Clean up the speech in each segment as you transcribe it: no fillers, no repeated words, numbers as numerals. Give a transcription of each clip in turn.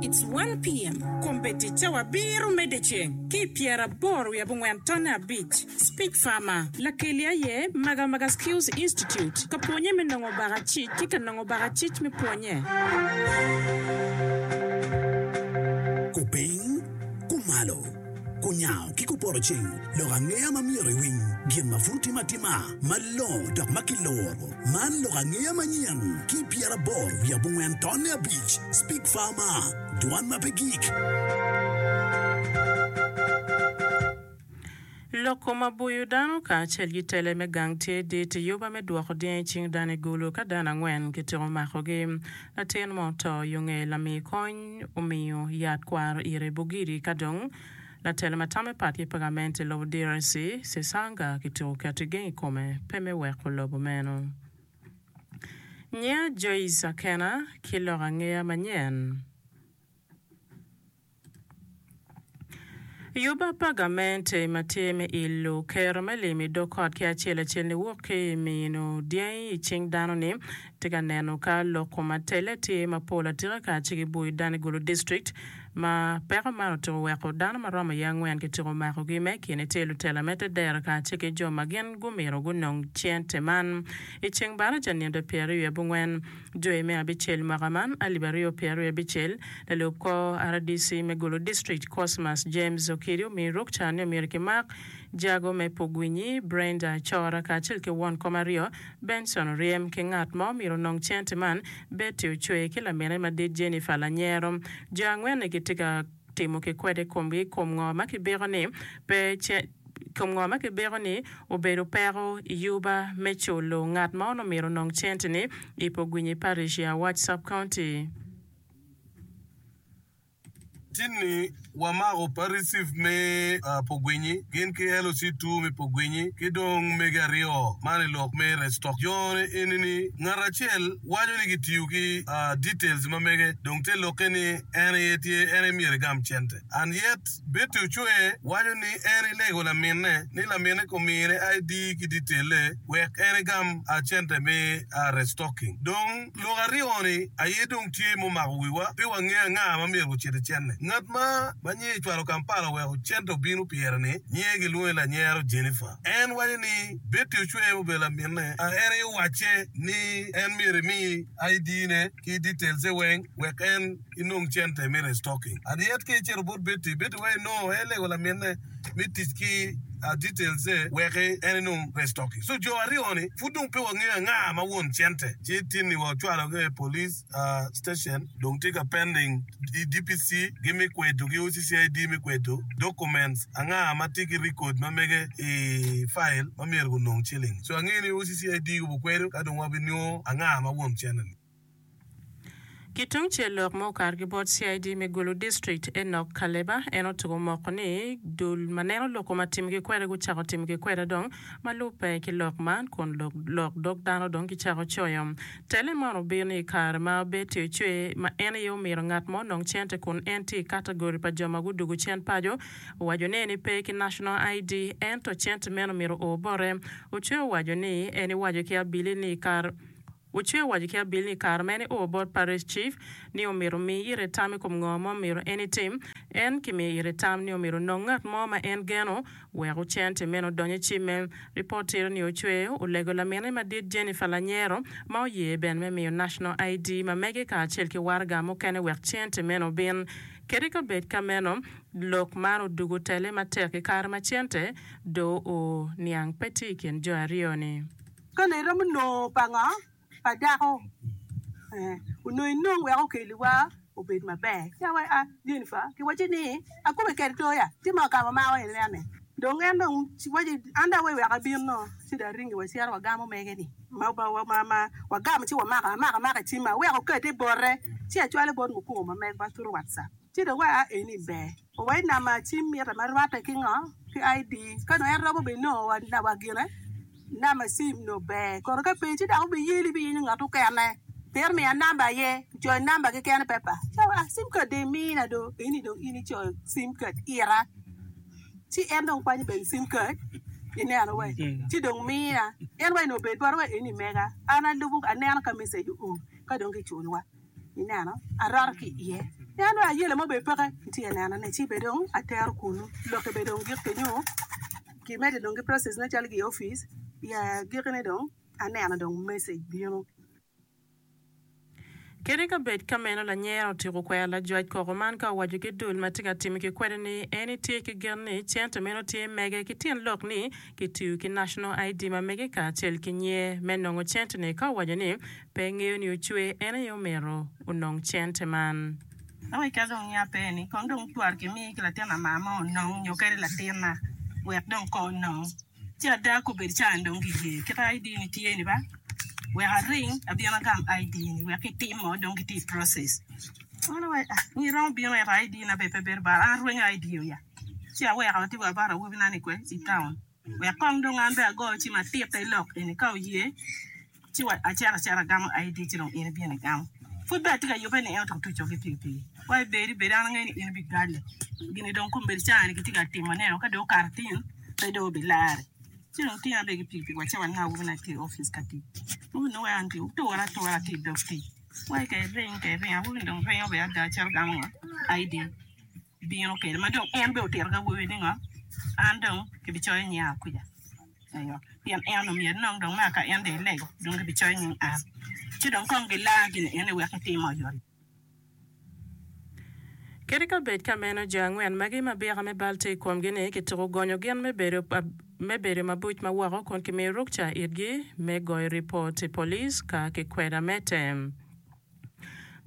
It's one PM. Kombeddi cawa abiro me dyeceng ki i pyeraboro wiye abongwen tonne abic. Speech Farmer, Lakeli aye Maga Maga Skills Institute ka pwonye me nongo bakacic ki ka nongo bakacic me pwonye. Kupiny, kumalo, kunyango ki kupoto ceng, lok angeya ma myero iwiny, gin ma pud timo atima, malongo dok ma kiluro. Man lok angeya manyen ki 84 tonne abic, Speak Farmer, dwan ma pe gik. Lok kom aboyo dano kacel ki tele me gang tye dit i yuba me dwoko dyangi i cing dano i Gulu ka dano angwen kityeko makogi. Latin mo oto yo nge lami kony omiyo yat kwaro ire i Bugiri ka dong latelo ma tame pat ki pagament i lobo DRC, Sesanga kityeko keto igeng i kome pe me weko lobo meno. Nyinga Joyce Akena ki lok angeya manyen. Yuba pa gamente ma tye me ilo kero me lim i dog kot ki acel acel niwok ki i mino dyangi i cing dano ni tye ka neno ka lok kom atele tye mapol atika ka ci giboyo dano i Gulu District ma peko man otyeko weko dano ma romo iye angwen kityeko makogi me kine tye lutela me tedero kacel ki jo ma gin gumito gunong cente man i ceng baraja nino pyeraryo abongwen Jwe me abicel mwaka man, alip 2026, lalub kor rdc me Gulu District, Cosmas James Okidi omiyo rukca ni omyero kimak jago me Pugwinyi, Brenda Acora kacel ki won kom aryo, Benson Oryem ki ngat ma omyero onong cente man, Betty Ocwe ki lamine madit Jennifer Lanyero. Jo angwen-ni gitye ka timo ki kwede komgi i kom ngo ma kibiko ni pe kom ngo ma kibiko ni obedo peko i yuba me culo ngat ma onongo myero onong cente-ni i Pogwinyi Parish i Awach Sub-County. Tinni wamako Parish me Pogwinyi gin ki LOC2 me Pogwinyi ki dong mege aryo man i lok me Restock. Jo-ni eni-ni ngat acel waco ni gitiyo ki details ma mege dong te lokke ni en aye tye en aye myero egam cente and yet Betty Ocwe waco ni en elego laminne ni laminne komine ID ki detail-le wek en egam cente me restocking. Dong lok aryoni aye dong tye mumako wiwa pe wangeyo anga ma myero gucit i cente. Ngat ma ma nyinge ecwalo Kampala oweko cente obino pyere ni nyinge gilwonge ni Lanyero Jennifer. En waco ni Betty Ocwe obedo laminne en aye owacce ni en myero emi ID ne ki details-e weng wek en inong cente me restocking. And yet ka icito bot Betty, Betty waci no, en elego laminne me tic ki details e wek en enong restocking. So jo aryo ni pud dong pe wangeyo anga ma won cente. Ci tinni wa ocwalo gi i police station dong tye ka pending i DPC gi me kwedo ki OCCID me kwedo documents anga ma tye ki record ma mege i file ma myero gunong ciling. So angeyo ni OCCID gubu kwedo ka dong wabinongo anga ma won cente ni. Ki tungcel lok ma okato ki bot CID me Gulu District, Enock Kaleba, en otuko moko ni dul ma neno lok kom atimgi kwede gucako timogi kwede dong ma lubbe ki lok man kun lok dog dano dong gicako coyo. Tele man obino i kare ma Betty Ocwe ma en aye omito ngat mo onong cente kun en tye i katagori pa jo ma gudugo cen paco owaco ni en pe ki National ID ento cente meno myero oo bote. Ocwe owaco ni en iwaco ki abili ni kare Ocwe owaco ki Abil ni i kare ma en eo bot Parish Chief ni omito omi ite tam i kom ngo ma omito en itim, en kimiyo ite tam ni omito onong ngat mo ma en geno wek ocente meno odony i cimme. Ripot tito ni Ocwe olego lamine madit Jennifer Lanyero ma oye bene me miyo National ID ma mege kacel ki waraga mukene wek cente meno obin. Kadi ka bed ka meno, lok man odugo tele matek i kare ma cente do oo niang pe tye i kin jo aryo-ni. Ka nongo iromo nongo pa ngo? Pa dako. Ee, onongo inong wek okeliwa obed maber. Ci awaco, ah, Jennifer, kiwacci ni akube kede to ya, ci ma ka wamako ineno ni. Dong en dong waci, an dong aweyo wek abin no, ci dong aringi wacito wagamo mege-ni. Ma, ma, ma, ma, wagamo ci wamako, amako amaka i cimma, aweko okete bote, ci acwalo bot mukungo ma megwa through WhatsApp. Ci dong wa eni ber. Owai namba cim mitte ma rwatte ki ngo? Ki ID. Ka dong en romo bene nongo wa, wa gine. Namba cim nongo ber kono ka pe ci dok obiyeli biyenyo ngat okene pien omiya namba aye kicoyo namba keken i pepa ci awaco cim kad dong imina do eni dong in icoyo cim kad ira ci en dong kwanyo bene cim kad ineno wai ci dong miya en wai nongo obed bote wai eni mega an alubo aneno ka message oo ka dong kiculowa. Ineno, aroto ki iye. En dong ayela mo bene peke itye ka neno ne ci bene dong atero kunu lokke bene dong gik kenyo ki medde dong ki process ne calo ki i opic i agikki ne dong aneno dong message bino. Kadi ka bed ka meno lanyera otyeko kwero lajwac koko man ka owaco ki dul ma tye ka timo ki kwede ni en etye ki gen ni cente meno tye mege ki tyen lok ni kitiyo ki National ID ma mege kacel ki nyer me nongo cente ni ka owaco ni pe ngeyo ni ocwe en aye omyero onong cente man. Awaci ka dong nya pe ni kong dong twar kimi ki latin amar mo onong nyo kadi latinna wek dong kong onong. Ci ada kobedo caa-ni dong giye kit ID ni tye ni ba wek aring abin agam ID ni wek kitimo dong gitye i process. An awaco ah in iromo bino ento ID na bene pe bedo bal an arwenyo ID oya ci aweko atye wa bot awobina ni kwe i town wek kong dong an bene ago cim atitte lok eni ka oye Ci wa acito acita agamo ID ci dong in ibino igamo. Pud bene atye ka yubbe ni en otuko tuco ki pikipiki. Wa ibedi bedi an angeyo ni in ibigalle. Gini dong kombeddi caa-ni kitye ka timo ne ka dong okato tin pe dong obilare. Ci dong tinga bene ki pikipiki wacito waneno awobina tye i opic ka tic. Awobi nongo weko an tye oture atura tye i dog tic. Wa ka iring ka iring awobi-ni dong ringo bene ada cito gamo ngo ID bino kwede ma dong en bene otito ki awobi ni ngo an dong kibicoyo nyinga kuca. Pien en onongo myero enong dong ma ka en dong elego dong gibicoyo nying an, ci dong kong gilar gin eni wek etim oyot. Kadi ka bed ka meno, jo angwen magi ma byeka me bal tye i komgi-ni kituko gonyo gin me bedo me bedo mabuc ma woko kun kimiyo rukca itgi me goyo ripot i police ka kikweda mete.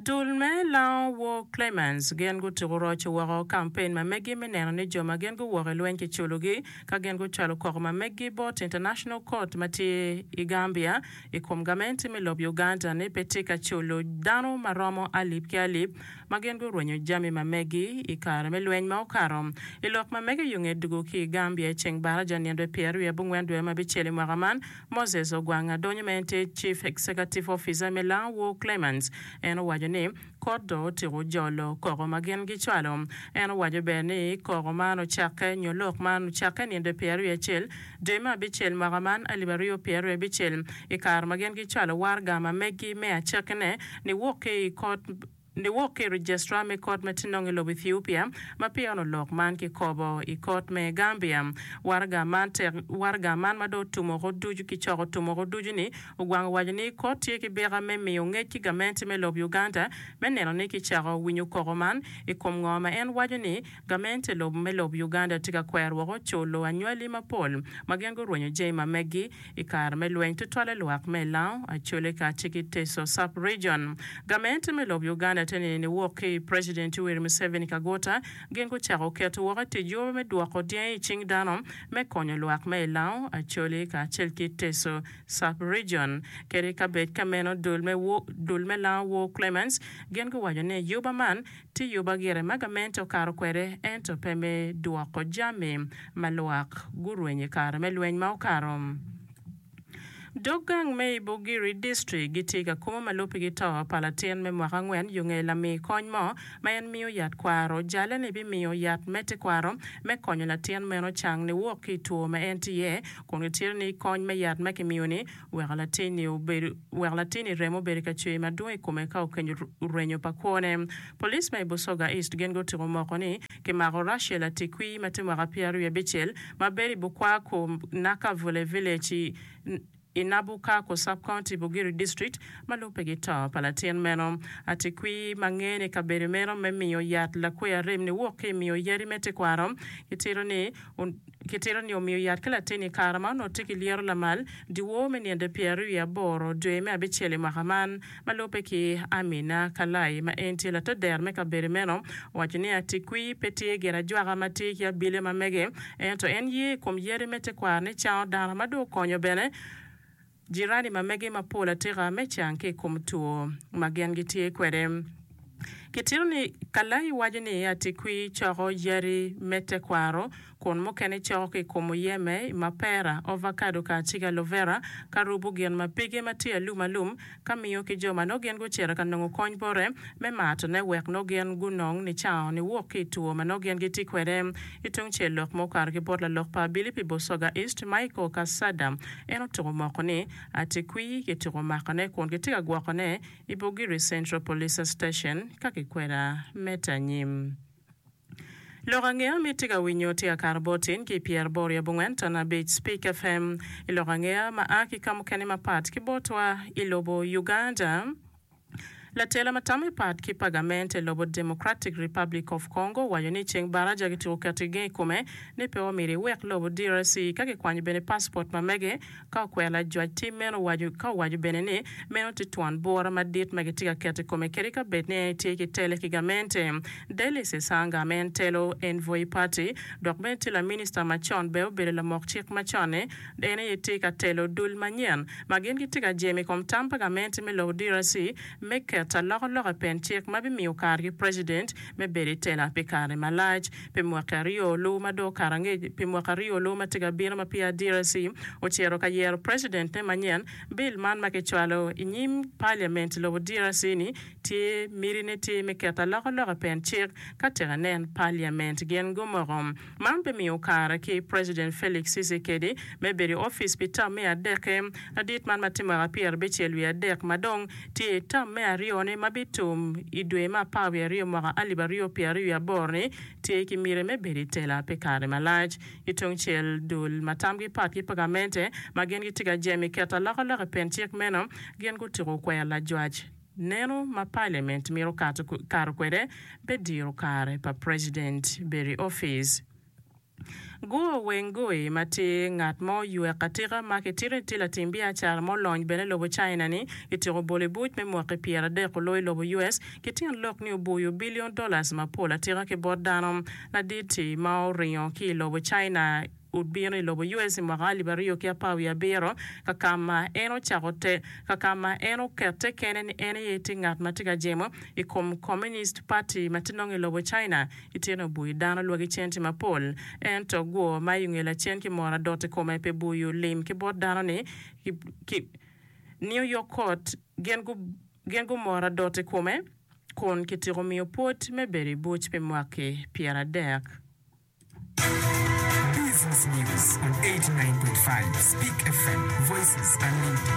Dul me Lango War Claimants gin gutuko roco woko kampen ma meggi me neno ni jo ma gin guwok i lweny kiculogi ka gin gucwalo koko ma meggi bot International Court ma tye i Gambia i kom gamenti me lob Uganda ni pe tye ka culo dano ma romo alip ki alip ma gin gurwenyo jami ma meggi i kare me lweny ma okato. I lok ma mege yo nge dugo ki i Gambia i ceng baraja nino pyeraryo abongwen dwe me abicel i mwaka man, Moses Ogwang Adonyo ma en tye Chief Executive Officer me Lango War Claimants en owaco ni kot dong otyeko jolo koko ma gin gicwalo. En owaco bene ni koko man ocakke nyo lok man ocakke nino 21 dwe me abicel mwaka man 2026 i kare ma gin gicwalo waraga ma megi me acakkine niwok ki i kot Niwok ki i Registrar me kot ma tye nongo i lobo Ethiopia ma peya onongo lok man kikobo i kot me Gambia. Waraga man tek waraga man ma dong otum woko ducu kicoko otum woko ducu ni ogwang owaco ni kot tye ki byeka me miyo ngec ki gamenti me lobo Uganda me neno ni kicako winyo koko man i kom ngo ma en waco ni gamente lobo me lobo Uganda tye ka kwero woko culo anywali mapol ma gin gurwenyo jami ma meggi I kare me lweny, tutwalle lwak me Lango, Acholi kacel ki Teso Sub-Region. Gamente me lobo Uganda te nini niwok ki i President Yoweri Museveni Kaguta gin gucako keto woko i tic yub me dwoko dyangi i cing dano me konyo lwak me Lango, Acholi kacel ki Teso Sub-Region. Kadi ka bed ka meno dul me dul me Lango War Clements gin guwaco ni yuba man Tye yuba gire ma gamente okato kwede ento pe me dwoko jami ma lwak gurwenyo i kare me lweny ma okato. Dog gang me i Bugiri District gitye ka kumo ma lubbe ki to pa latin me mwaka angwen yo nge lami kony mo ma en miyo yat kwaro jale ni bimiyo yat me tekwaro me konyo latin meno cang niwok ki i two ma en tye iye kun gitito ni kony me yat ma kimiyo ni weko latinni obedo weko latinni remo obedo ka cwer madwong i kome ka okenyo rwenyo pa kwone. Police ma i Busoga East gin gutiko moko ni kimako Rachael Atikwi ma tye mwaka 25 ma bedo i Bukwaku Nakavule Village i i Nabukako Sub-County, Bugiri District ma lubbe ki to pa latin meno. Atikwi ma ngene i kabedo meno me miyo yat lakwe arem niwok ki i miyo yadi me tekwaro kitito ni Kitito ni omiyo yat ki latin i kare ma onongo tye ki lyeto lamal dyewor me nino 28 dwe me abicel i mwaka man. Ma lubbe ki Amina Kalai ma en tye lateder me kabedo meno owaco ni Atikwi pe tye gin ajwaka ma tye ki abili ma mege ento en ye i kom yadi me tekwaro ni cango dano ma dong okonyo bene Jirani ma mege mapol atika me cang ki i kom two ma gin gitye kwede. Kitito ni Kalai waco ni Atikwi coko yadi me tekwaro. kun mukene coko ki i kom muyeme, mapera, ovakado kacel ki alovera, ka rubo gin ma pige ma tye alum alum ka miyo ki jo ma nongo gin gucito ka nongo kony bote me matone wek nongo gin gunong nicango niwok ki i two ma nongo gin gitye kwede. Ki tungcel lok ma okato ki bot lalok pa abili pi Busoga East, Michael Kasada, en otuko moko ni Atikwi kituko makone kun kitye ka gwokone i Bugiri Central Police Station ka kikweda medde anyim. Lok angeya ma itye ka winyo tye ka kato bot in ki i pyeraboro i abongwen ton abic Speak FM. I lok angeya ma a ki ka mukene mapat ki botwa i lobo Uganda, latela ma tamme pat ki pa gamente i lobo Democratic Republic of Congo owaco ni ceng baraja kityeko keto igeng i kome ni pe omyero iwek lobo DRC ka kikwanyo bene passport ma mege Ka okwero lajwac tim meno owaco ka owaco bene ni meno tye twon bura madit ma gitye ka keto i kome kadi ka bed ni en etye ki tele ki gamente. Delly Sesanga ma en telo Envoy Party dok bene tye laminista macon bene obedo lamok cik macon-ni en aye tye ka telo dul manyen ma gin gitye ka jemo i kom tam pa gamente me lobo DRC me keto alokaloka i pen cik ma bimiyo kare ki president me bedo i tela pi kare malac. Pi mwaki aryo lu ma dong okato angec, pi mwaka aryo lu ma tye ka bino ma peya DRC ocito ka yero president-ne manyen, bil man ma kicwalo i nyim parliament i lobo DRC ni tye miti-ne tye me keto alokaloka i pen cik ka tek inen parliament gin gumoko. Man bimiyo kare ki President Felix Tshisekedi me bedo i opic pi term me adekke. Ladit man ma tye mwaka 73 ma dong tye i term me aryone ma bitum i dwe me apar wiye aryo mwaka 2028 ni tye ki miti me bedo i tela pi kare malac. Ki tungcel, dul ma tamgi pat ki pa gamente ma gin gitye ka jemo i keto alokaloka i pen cik meno gin gutuko kwer lajwac neno ma parliament mito kato kwede me diro kare pa president bedo i opic. Guo Wengui ma tye ngat ma oywek atika ma kitito ni tye latim biacara ma olony bene i lobo China ni kityeko bolo i buc me mwaki 30 oloyo i lobo US ki tyen lok ni obuyo billion dollars mapol atika ki bot dano. Ladit-ti ma oringo ki i lobo China obino i lobo US i mwaka alip aryo ki apar wiye abiro ka ka ma en ocako te ka ka ma en okette kene ni en aye tye ngat ma tye ka jemo i kom Communist Party ma tye nongo i lobo China. Itino obuyo dano lwagi cente mapol, ento guo ma i nge lacen ki moro adot i kome pi buyo lim ki bot dano ni ki New York Court gin gin gumoro adot i kome kun kityeko miyo pwod me bedo i buc pi mwaki 30. Business News on 89.5 Speak FM, Voices Unlimited.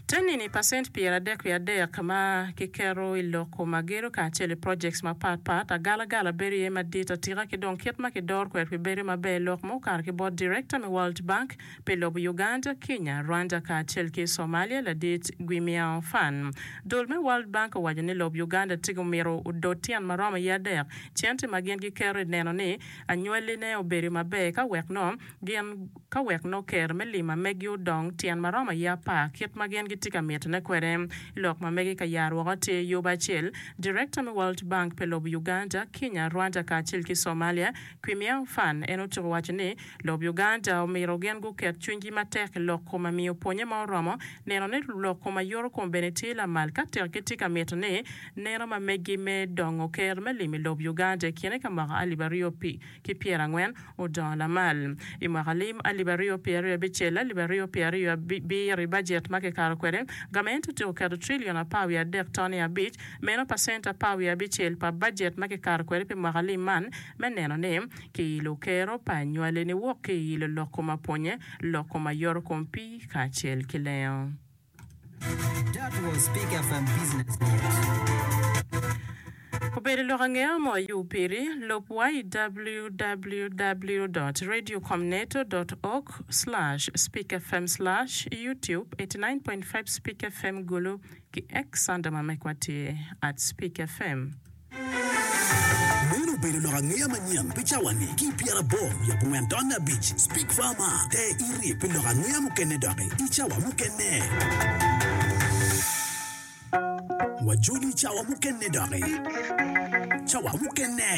Te nini pacent 33 ma kiketo i loko ma gedo kacel i projects mapat pat, agalagala bedo iye madit atika ki dong kit ma kidoro kwede pi bedo maber lok ma okato ki bot Director me World Bank pi lobo Uganda, Kenya, Rwanda kacel ki Somalia ladit Guimiao Fan. Dul me World Bank owaco ni lob Uganda tye omito odot tyen maromo iye adek cente ma gin giketo i neno ni anywali ne obedo maber ka wek no gin ka wek nongo ker me lim ma megi odong tyen ma romo aye apar kit ma gin gitye ka mitone kwede. Lok ma megi ka yaro woko tye yub acel, Director me World Bank pi lobo Uganda, Kenya, Rwanda kacel ki Somalia, Kwimiao Fan en otuko waco ni lob Uganda omito gin guket cwinygi matek i lok kom amiyo pwonye ma oromo neno ni lok kom ayoto kom bene tye lamal ka tek gitye ka mito ni neno ma megi me dongo ker me lim i lob Uganda i kine ka mwaka alip aryo ki 40 odongo lamal. I mwaka lim 2026, 2027 i bajet ma kikato kwede, gamente otyeko keto trilion apar wiye adek tone abic, meno pacent apar wiye abicel pa bajet ma kikato kwede pi mwaka lim man, me neno ni kiilo kero pa anywali niwok ki i ilo lok kom apwonye, lok kom ayoto kom pii kacel ki lengo. That was Big FM Business News. Obedo lok angeya mo ayub piri, lub wa i www dot radiocomneto dot org slash speakfm slash youtube 89.5 speakfm Gulu ki X anda ma mekwa tye at speakfm. Meno obedo lok angeya manyen pi cawa-ni ki i pyeraboro wiye abongwen tonne abic. Speak Farmer, Ter iti pi lok angeya mukene doki i cawa mukene. Wajoli i cawa mukene doki. Cawa mukene.